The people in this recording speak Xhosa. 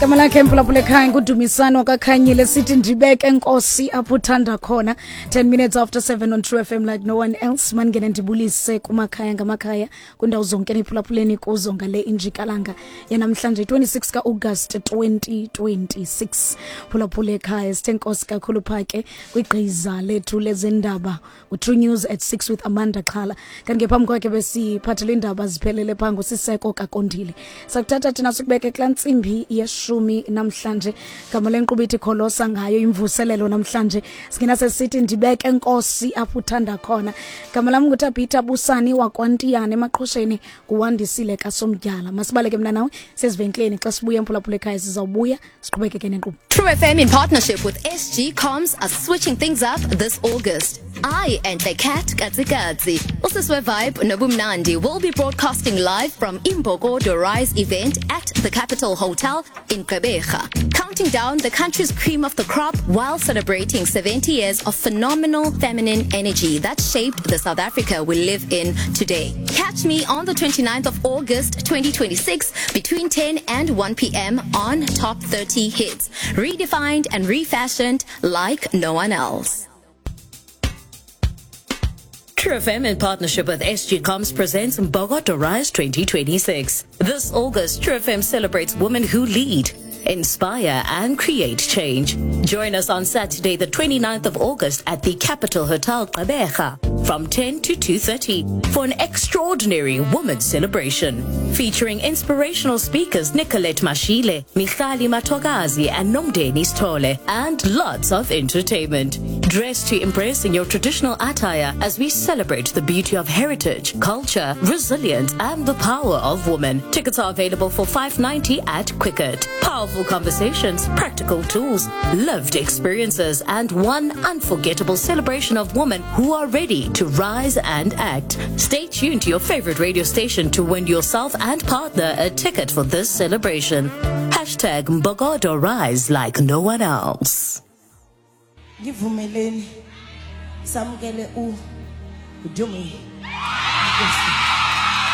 Igama lakhe mphulaphula ekhaya nguDumisani wakaKhanyile, sithi ndibeke nkosi apho uthanda khona. 10 minutes after 7 on True FM like no one else. Mandingene ndibulise kumakhaya ngamakhaya kwindawo zonke niphulaphuleni kuzo ngale injikalanga yanamhlanje 26 ka-August 2026. Phulaphula ekhaya, sithe nkosi kakhulu pha ke kwigqiza lethu lezendaba uTrue News at 6 with Amanda Xhala. Kanti ke phambi kwakhe besiphathele iindaba ziphelele phaa nguSiseko Kakondile. Sakuthatha thina sikubeke kulaa ntsimbi yeshumi namhlanje. Gama lenkqubo ithi Kholosa ngayo imvuselelo namhlanje. Singena sesithi ndibeke nkosi apho uthanda khona. Gama lam nguTabitha Busani wakwaNtiyane emaqhosheni nguWandisile kaSomdyala. Masibaleke mna nawe sezivenkileni, xa sibuya emphulaphula ekhaya sizawubuya siqhubekeke nenkqubo. True FM in partnership with SG Comms are switching things up this August. I and the cat Katsikatsi, Usiswe Vibe Nobumnandi will be broadcasting live from Imbokodo Rise event at the Capital Hotel in Gqeberha, counting down the country's cream of the crop while celebrating 70 years of phenomenal feminine energy that shaped the South Africa we live in today. Catch me on the 29th of August 2026 between 10 and 1 p.m. on Top 30 Hits, redefined and refashioned like no one else. True FM in partnership with SG Comms presents Mbokodo Rise 2026. This August, True FM celebrates women who lead, inspire and create change. Join us on Saturday, the 29th of August at the Capital Hotel Gqeberha from 10 to 2:30 for an extraordinary women's celebration featuring inspirational speakers Nicolette Mashile, Michali Matogazi and Nomdeni Stole, and lots of entertainment. Dress to impress in your traditional attire as we celebrate the beauty of heritage, culture, resilience and the power of women. Tickets are available for 5.90 at Quicket. Powerful conversations, practical tools, lived experiences and one unforgettable celebration of women who are ready to rise and act. Stay tuned to your favorite radio station to win yourself and partner a ticket for this celebration. Hashtag Mbokodo Rise like no one else. Ngivumeleni samukele u Dumi. Nkosi.